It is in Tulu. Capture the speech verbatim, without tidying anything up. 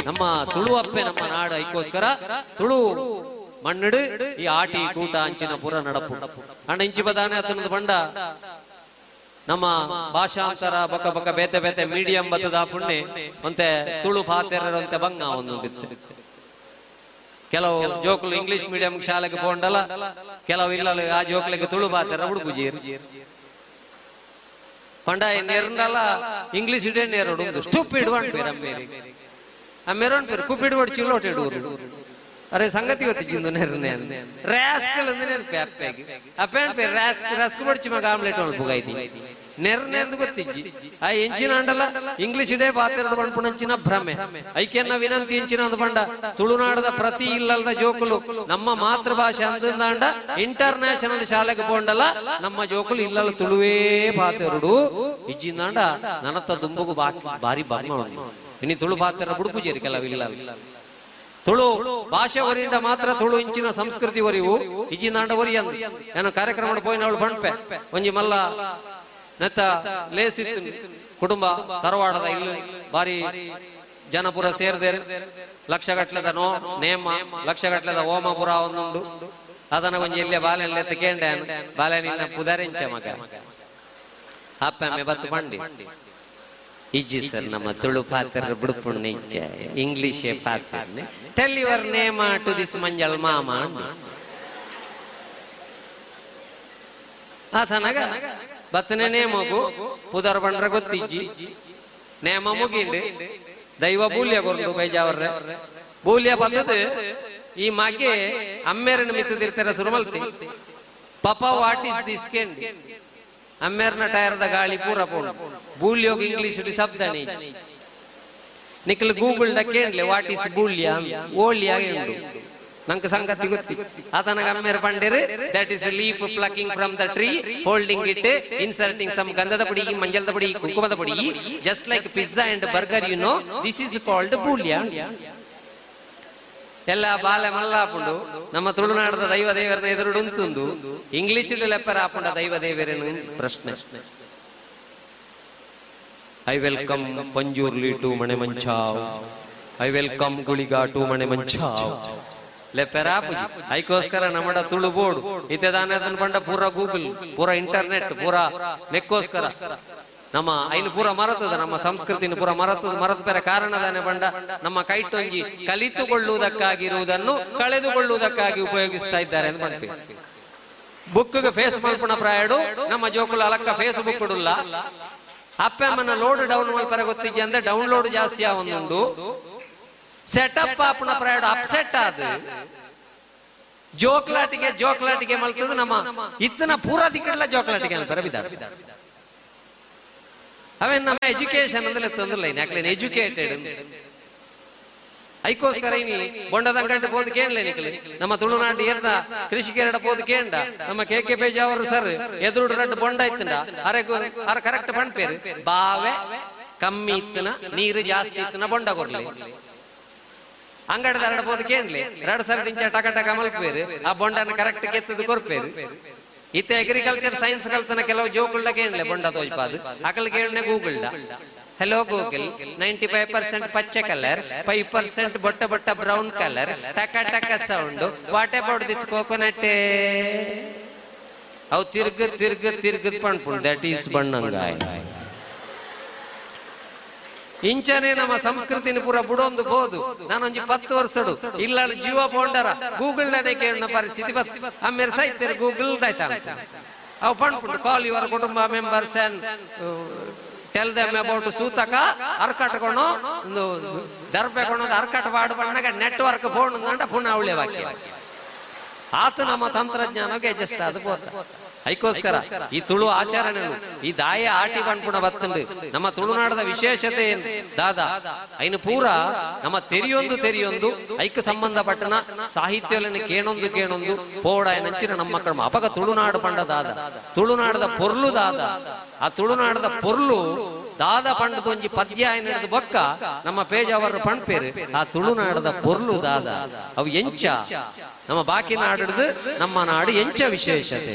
ನಮ್ಮ ತುಳು ಅಪ್ಪೆ ನಮ್ಮ ನಾಡು ಐಕೋಸ್ಕರ ತುಳು ಮಣ್ಣಡು ಈ ಆಟಿ ಕೂಟ ಅಂಚಿನ ಪುರ ನಡಪು ಅಂಡ ಇಂಚಿ ಬದಾನೆ ಅತನದ ಬಂಡ ನಮ್ಮ ಭಾಷಾಂತರ ಬಕ ಬಕ ಬೇತೆ ಬೇತೆ ಮೀಡಿಯಂ ಬತ್ತದ ಪುಣ್ಯ ಒಂತೆ ತುಳು ಪಾತೆರಂತೆ ಬಂಗ ಒಂದು ಕೆಲವು ಜೋಕುಲು ಇಂಗ್ಲಿಷ್ ಮೀಡಿಯಂ ಶಾಲೆಗೆ ಪೋಂಡಲ್ಲ, ಕೆಲವು ಇಲ್ಲ ಆ ಜೋಕ್ಲಿಗೆ ತುಳು ಪಾತೆರ ಉಡುಪುಜೀರು ಪಂಡ ನೇರ್ನಲ್ಲ ಇಂಗ್ಲಿಷ್ ಇಡೇ ನೇರೋಡು ಸ್ಟೂಪಿಡ್ ಪೇರು ಅಮ್ಮೇರಿ ಅಮ್ಮೇರೋನ್ ಪೇರು ಕುಪಿಡ್ ಒಡ್ ಚಿಲ್ಲೋಟೆಡೂರು ಅರೆ ಸಂಗತಿ ಗೊತ್ತಿದ್ದು ನೇರ್ನೆ ರಾಸ್ಕಲ್ ಅಂದ್ರೆ ಅಪ್ಪೆಗೆ ಅಪ್ಪೇನ್ ಪೇರು ರಾಸ್ಕ್ ರಸ್ಕ್ ಬಡ್ಚಿ ಮಗ ಆಮ್ಲೆಟ್ ಒಳ್ ಬುಗೈನಿ ನೆರ್ನೆ ಅಂದು ಗೊತ್ತಿಜ್ಜಿ ಆ ಎಂಚಿನ ಅಂಡಲ್ಲ ಇಂಗ್ಲಿಷ್ ಇಡೇ ಪಾತೆರಡು ಪಂಪುಣಂಚಿನ ಭ್ರಮೆ ಐಕೆನ್ನ ವಿನಂತಿ ಎಂಚಿನ ಅಂದ ಪಂಡ ತುಳುನಾಡದ ಪ್ರತಿ ಇಲ್ಲದ ಜೋಕುಲು ನಮ್ಮ ಮಾತೃಭಾಷೆ ಅಂದಂಡ ಇಂಟರ್ ನ್ಯಾಷನಲ್ ಶಾಲೆಗೆ ಪೋಂಡಲ್ಲ ನಮ್ಮ ಜೋಕುಲು ಇಲ್ಲಲ್ಲ ತುಳುವೇ ಪಾತೆರಡು ಇಜ್ಜಿಂದಾಂಡ ನನತ್ತ ದುಂಬುಗು ಬಾರಿ ಬಂಗ ಇನಿ ತುಳು ಪಾತೆರ ಬುಡುಪುಜೇರಿ ಕೆಲವು ಇಲ್ಲ ತುಳು ಭಾಷೆ ಒರಿಂದ ಮಾತ್ರ ತುಳು ಇಂಚಿನ ಸಂಸ್ಕೃತಿ ಒರಿವು ಇಜ್ಜಿಂದಾಂಡ ಒರಿ ಅಂದ ನಾನು ಕಾರ್ಯಕ್ರಮ ಪೋಯಿನವಳು ಬಂಡ್ಪೆ ಒಂಜಿ ಮಲ್ಲ ನೆತ್ತ ಲೇಸಿತ್ತು ಕುಟುಂಬ ತರವಾಡದ ಇಲ್ಲಿ ಬಾರಿ ಜನಪುರ ಸೇರ್ದೇರು ಲಕ್ಷಗಟ್ಲೆದ ನೋ ನೇಮ ಲಕ್ಷಗಟ್ಲೆದ ಓಮಪುರ ಒಂದುಂಡು ಅದನ್ನ ಒಂಜಿ ಎಲ್ಲಿಯ ಬಾಲೆಲ್ಲ ಎತ್ತು ಕೇಂಡೆ ಬಾಲೆ ನಿನ್ನ ಪುದರಿಂಚ ಮಗ ಅಪ್ಪಮ್ಮೆ ಬತ್ತು ಬಂಡಿ ಇಜ್ಜಿ ಸರ್ ನಮ್ಮ ತುಳು ಪಾತ್ರ ಬುಡುಪುಣ್ಣ ಇಜ್ಜ ಇಂಗ್ಲಿಷೇ ಪಾತ್ರ tell your name to this ಮಂಜಲ್ ಮಾಮ ಆತನಗ ಬತ್ತನೆ ನೇಮಗು ಪುದರ್ ಬಂಡ್ರ ಗೊತ್ತಿಜ್ಜಿ ನೇಮ ಮುಗಿಂಡು ದೈವ ಬೂಲ್ಯ ಕೊರ್ದು ಬೈಜಾವರ್ರೆ ಬೂಲ್ಯ ಬತ್ತದ ಈ ಮಾಗೆ ಅಮ್ಮೇರನ ಮಿತ್ತದಿರ್ತಾರ ಸುರುಮಲ್ತಿ ಪಾಪ what is this ಕೇಂಡಿ ಅಮ್ಮೇರ್ನ ಟೈರ್ದ ಗಾಳಿ ಪೂರ ಪೋಣ ಬೂಲ್ಯೋಗ ಇಂಗ್ಲಿಷ್ ಶಬ್ದ ನಿಖಲ್ ಗೂಗಲ್ ದ ಕೇಂಡ್ಲೆ what is ಬೂಲ್ಯ ಓಲ್ಯ ಉಂಡು ನಂಗೆ ಸಂಗತಿ ಗೊತ್ತಿ ಆತನಗ ಅಮ್ಮೇರ್ ಪಂಡೇರು that is leaf plucking from the tree folding it inserting some ಗಂಧದ ಪುಡಿ ಮಂಜಲದ ಪುಡಿ ಕುಂಕುಮದ ಪುಡಿ just like pizza and burger you know this is called ಬೂಲ್ಯ. ಎಲ್ಲ ಬಾಲೆ ಮಲ್ಲಾಪುಂಡು ನಮ್ಮ ತುಳುನಾಡದ ದೈವ ದೇವರನ್ನ ಎದುರುಡು ಉಂತುಂದು ಇಂಗ್ಲಿಷ್ ಲೆಪ್ಪರ ಆಪುಂಡ ದೈವ ದೇವರೇನು ಪ್ರಶ್ನೆ. I welcome Panjurli to Manemanchav, I welcome Guliga to Manemanchav ಲೆಪ್ಪೆರಾಪುಜಿ ಐಕೋಸ್ಕರ ನಮ್ಮಡ ತುಳು ಬೋರ್ಡು ಇತ್ತೆ ದಾನೆ ಅದನ್ನ ಬಂಡ ಪೂರ ಗೂಗಲ್ ಪೂರ ಇಂಟರ್ನೆಟ್ ಪೂರ ನೆಕ್ಕೋಸ್ಕರ ನಮ್ಮ ಐನು ಪೂರ ಮರತದ ನಮ್ಮ ಸಂಸ್ಕೃತಿನ ಪೂರ ಮರತದ ಮರತ ಬೇರೆ ಕಾರಣದಾನೆ ಬಂಡ ನಮ್ಮ ಕೈಟೊಂಜಿ ಕಲಿತುಕೊಳ್ಳುವುದಕ್ಕಾಗಿರುವುದನ್ನು ಕಳೆದುಕೊಳ್ಳುವುದಕ್ಕಾಗಿ ಉಪಯೋಗಿಸ್ತಾ ಇದ್ದಾರೆ ಅಂತ ಮಾಡ್ತೀವಿ. ಬುಕ್ಗೆ ಫೇಸ್ ಮಲ್ಪಣ ಪ್ರಾಯಡು ನಮ್ಮ ಜೋಕುಲ ಅಲಕ್ಕ ಫೇಸ್ ಬುಕ್ ಇಡುಲ್ಲ ಅಪ್ಪಮ್ಮನ ಲೋಡ್ ಡೌನ್ ಮಲ್ಪರ ಗೊತ್ತಿಜ್ಜಿ ಅಂದ್ರೆ ಡೌನ್ಲೋಡ್ ಜಾಸ್ತಿ ಆವೊಂದುಂಡು ಸೆಟಪ್ ಆಪಣ ಪ್ರಾಯಡು ಅಪ್ಸೆಟ್ ಆದ ಜೋಕ್ಲಾಟಿಗೆ ಜೋಕ್ಲಾಟಿಗೆ ಮಲ್ತದ ನಮ್ಮ ಇತ್ತನ ಪೂರ ದಿಕ್ಕಲ್ಲ ಜೋಕ್ಲಾಟಿಗೆ ಅನ್ಪರ ಬಿದ್ದಾರ ಅವೇನ್ ನಮ್ಮ ಎಜುಕೇಶನ್ ಅಂದ್ರೆ ತಂದಿಲ್ಲ ಯಾಕಲೇನು ಎಜುಕೇಟೆಡ್ ಐಕೋಸ್ಕರ ಇನಿ ಬೊಂಡದಂಗಂಟೆ ಪೋದು ಕೇಳಲೆ ನಿಕಲಿ ನಮ್ಮ ತುಳುನಾಡು ಎರಡ ಕೃಷಿಕೆರಡ ಪೋದು ಕೇಂಡ ನಮ್ಮ ಕೆ ಕೆ ಪೇಜಾವರು ಸರ್ ಎದುರುಡು ರಡ್ಡು ಬೊಂಡ ಇತ್ತಂಡ ಅರೆ ಅರ ಕರೆಕ್ಟ್ ಪಂಪೇರು ಬಾವೆ ಕಮ್ಮಿ ಇತ್ತನ ನೀರು ಜಾಸ್ತಿ ಇತ್ತನ ಬೊಂಡ ಕೊರ್ಲಿ ಅಂಗಡದ ಎರಡ ಪೋದು ಕೇಂಡ್ಲಿ ಎರಡು ಸರ್ ದಿಂಚ ಟಕ ಟಕ ಮಲ್ಪೇರು ಆ ಬೊಂಡನ ಕರೆಕ್ಟ್ ಕೆತ್ತದು ಕೊರ್ಪೇರು. ಇತ್ತೆ ಅಗ್ರಿಕಲ್ಚರ್ ಸೈನ್ಸ್ ಕಲ್ತನ ಕೆಲವು ಜೋಕುಳ್ಳ ಕೇಳಲೆ ಬೊಂಡ ತೋಜ್ಪಾದು ಅಕಲ್ ಕೇಳನೆ Google hello Google ninety five percent ಪಚ್ಚೆ ಕಲರ್ ಫೈವ್ ಪರ್ಸೆಂಟ್ ಬೊಟ್ಟ ಬೊಟ್ಟ ಬ್ರೌನ್ ಕಲರ್ ಟಕ ಟಕ sound what about this coconut ಅವು ತಿರ್ಗ ತಿರ್ಗ ತಿರ್ಗದ್ ಪಣ್ಪುಂಡು that is ಬಣ್ಣಂಗಾಯ್. ಇಂಚನೆ ನಮ್ಮ ಸಂಸ್ಕೃತಿನ ಪೂರ ಬುಡೊಂದು ಬೋದು ನಾನೊಂಜಿ ಪತ್ತು ವರ್ಷಡು ಇಲ್ಲ ಜೀವ ಪೋಂಡರ ಗೂಗಲ್ ನೇ ಕೇಳಿನ ಪರಿಸ್ಥಿತಿ ಬಸ್ ಆಮೇಲೆ ಸೈತೇರು ಗೂಗಲ್ ದಾಯ್ತ ಅವು ಪಣ್ಪುಂಡು ಕಾಲ್ your ಕುಟುಂಬ members and tell them about ಸೂತಕ ಅರ್ಕಟ್ಕೊಣೋ ಒಂದು ದರ್ಬೆ ಕೊಣೋದು ಅರ್ಕಟ್ ವಾಡು ಬಣ್ಣಗ ನೆಟ್ವರ್ಕ್ ಫೋನ್ ಅಂದ ಪುನಃ ಅವಳೆ ವಾಕ್ಯ ಆತ ನಮ್ಮ ತಂತ್ರಜ್ಞಾನಕ್ಕೆ ಅಡ್ಜಸ್ಟ್ ಅದು ಬೋತ. ಐಕೋಸ್ಕರ ಈ ತುಳು ಆಚರಣೆ ಈ ದಾಯ ಆಟಿ ಬಣ್ಪುಣ ಬತ್ತುಂಡು ನಮ್ಮ ತುಳುನಾಡದ ವಿಶೇಷತೆ ಏನು ದಾದಾ ಐನು ಪೂರ ನಮ್ಮ ತೆರಿಯೊಂದು ತೆರಿಯೊಂದು ಐಕ್ ಸಂಬಂಧಪಟ್ಟನ ಸಾಹಿತ್ಯಗಳನ್ನು ಕೇಣೊಂದು ಕೇಣೊಂದು ಪೋಡ ನಂಚಿನ ನಮ್ಮ ಕ್ರಮ ಅಪಗ ತುಳುನಾಡು ಪಂಡ ದಾದ ತುಳುನಾಡದ ಪೊರ್ಲು ದಾದ ಆ ತುಳುನಾಡದ ಪೊರ್ಲು ದಾದ ಪಂಡದ ಒಂಜಿ ಪದ್ಯ ಏನಿಡ್ದು ಬೊಕ್ಕ ನಮ್ಮ ಪೇಜ್ ಅವರು ಪಣ್ಪೇರು ಆ ತುಳುನಾಡದ ಪೊರ್ಲು ದಾದ ಅವು ಎಂಚ ನಮ್ಮ ಬಾಕಿ ನಾಡಿಡ್ದು ನಮ್ಮ ನಾಡು ಎಂಚ ವಿಶೇಷತೆ.